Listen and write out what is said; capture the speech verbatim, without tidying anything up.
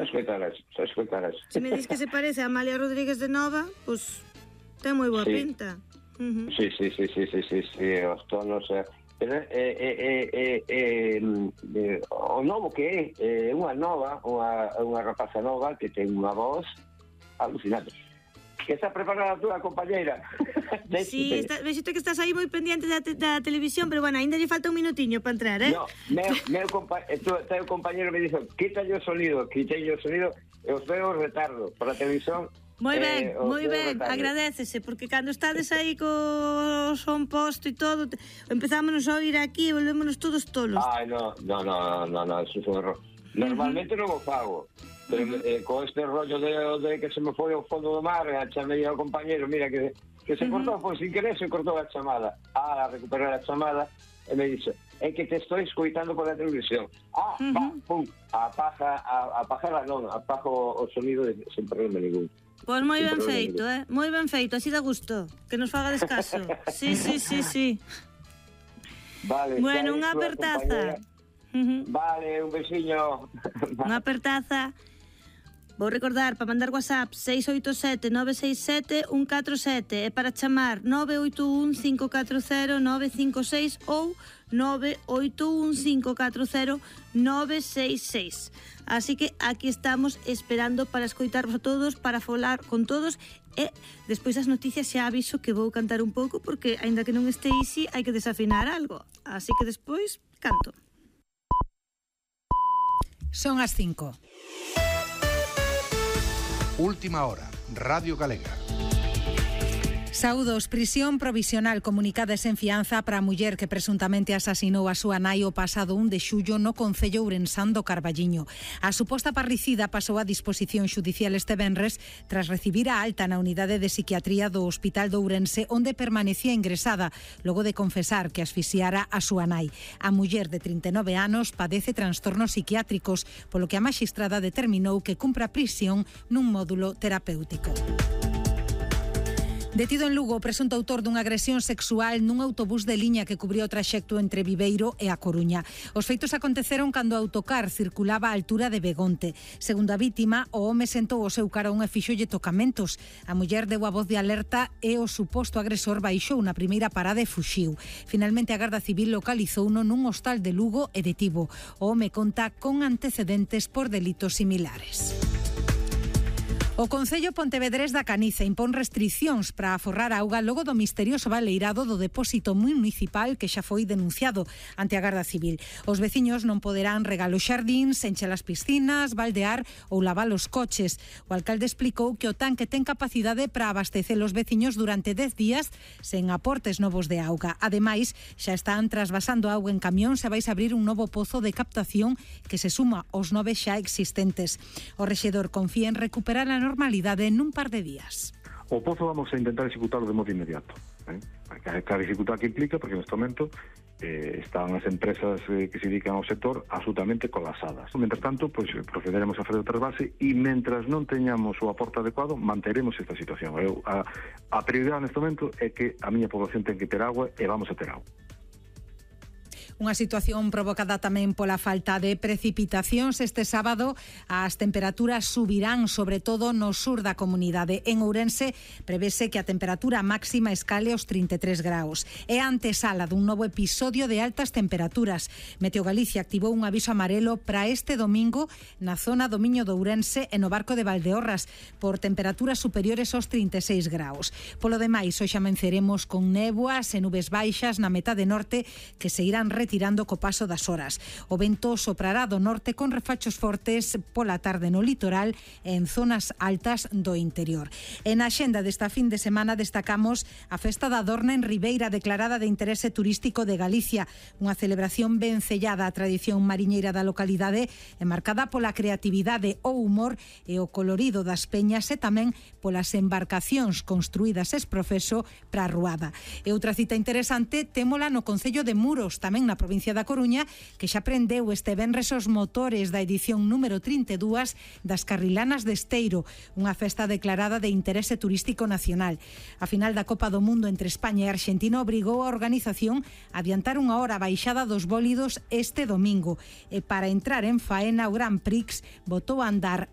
escoitarás, xa escoitarás. Se me dis que se parece a Amalia Rodríguez de Nova, pois pues, ten moi boa sí. pinta. Uh-huh. Sí, sí, sí, sí, sí, sí, sí, os tonos... Eh, pero, eh, eh, eh, eh, eh, o novo que é, é unha nova, unha, unha rapaza nova que ten unha voz alucinante. Que está preparada a túa compañeira. Sí, está, vexete que estás aí moi pendiente da, te, da televisión, pero bueno, ainda lle falta un minutiño para entrar, eh? No, meu, meu compa teu compañero me dixo, quítalle o sonido, quítalle o sonido, e os veo retardo para a televisión. Moi ben, eh, moi ben, agradécese, porque cando estades aí co son posto e todo, empezámonos a oír aquí e volvémonos todos tolos. Ai, no, no, no, no, no, eso foi un error. Normalmente uh -huh. non o fago, pero uh -huh. eh, con este rollo de, de que se me foi ao fondo do mar, a chamei ao compañero, mira, que, que se uh -huh. cortou, pois sin querer se cortou a chamada. Ah, a recuperar a chamada, e me dixe, é que te estou escoitando por a televisión. Ah, uh -huh. va, pum, apaga, a, apaga non, apaga o, o sonido de, sen problema ningún. Pois moi ben feito, eh? Moi ben feito, así dá gusto. Que nos faga descaso. Sí, sí, sí, sí. Vale, bueno, unha apertaza. Vale, un besiño. Unha apertaza. Vou recordar, para mandar WhatsApp seis oito sete nove seis sete un catro sete e para chamar nove oito un cinco catro cero nove cinco seis ou nove oito un cinco catro cero nove seis seis. Así que aquí estamos esperando para escoitarvos a todos, para falar con todos e despois das noticias xa aviso que vou cantar un pouco porque aínda que non este easy hai que desafinar algo. Así que despois canto. Son as cinco. Última hora, Radio Galega. Saúdos, prisión provisional comunicada sen fianza para a muller que presuntamente asasinou a súa nai o pasado un de xullo no concello ourensán do Carballiño. A suposta parricida pasou a disposición xudicial este venres tras recibir a alta na unidade de psiquiatría do Hospital de Ourense, onde permanecía ingresada logo de confesar que asfixiara a súa nai. A muller de trinta e nove anos padece trastornos psiquiátricos, polo que a maxistrada determinou que cumpra prisión nun módulo terapéutico. Detido en Lugo o presunto autor dunha agresión sexual nun autobús de liña que cubriu o traxecto entre Viveiro e A Coruña. Os feitos aconteceron cando o autocar circulaba á altura de Begonte. Segundo a vítima, o home sentou o seu carón e fixolle tocamentos. A muller deu a voz de alerta e o suposto agresor baixou na primeira parada e fuxiu. Finalmente a Garda Civil localizouno nun hostal de Lugo e detivo. O home conta con antecedentes por delitos similares. O Concello Pontevedrés da Caniza impón restricións para aforrar auga logo do misterioso baleirado do depósito municipal que xa foi denunciado ante a Garda Civil. Os veciños non poderán regar os xardíns, encher as piscinas, baldear ou lavar os coches. O alcalde explicou que o tanque ten capacidade para abastecer os veciños durante dez días sen aportes novos de auga. Ademais, xa están trasvasando auga en camión e vais a abrir un novo pozo de captación que se suma aos nove xa existentes. O rexedor confía en recuperar a normalidade nun par de días. O pozo vamos a intentar executarlo de modo inmediato. ¿eh? Cada dificultad que implica, porque neste momento eh, están as empresas eh, que se dedican ao sector absolutamente colapsadas. Mientras tanto, pues, procederemos a fazer o trasvase e mentras non teñamos o aporte adecuado, manteremos esta situación. Eu, a, a prioridade neste momento é que a miña población ten que ter agua e vamos a ter agua. Unha situación provocada tamén pola falta de precipitacións. Este sábado as temperaturas subirán, sobre todo no sur da comunidade. En Ourense prevese que a temperatura máxima escale aos trinta e tres graus. É a antesala dun novo episodio de altas temperaturas. Meteo Galicia activou un aviso amarelo para este domingo na zona do Miño de Ourense e no Barco de Valdeorras por temperaturas superiores aos trinta e seis graus. Polo demais, hoxe amenceremos con néboas e nubes baixas na metade norte que se irán retirando tirando co paso das horas. O vento soprará do norte con refachos fortes pola tarde no litoral e en zonas altas do interior. En a axenda desta fin de semana destacamos a Festa da Dorna en Ribeira, declarada de interese turístico de Galicia, unha celebración ben sellada á tradición mariñeira da localidade e marcada pola creatividade, o humor e o colorido das peñas e tamén polas embarcacións construídas ex profeso para a ruada. E outra cita interesante témola no Concello de Muros, tamén na na provincia da Coruña, que xa prendeu este venres os motores da edición número trinta e dúas das Carrilanas de Esteiro, unha festa declarada de interese turístico nacional. A final da Copa do Mundo entre España e Argentina obrigou a organización a adiantar unha hora a baixada dos bólidos este domingo, e para entrar en faena o Grand Prix botou a andar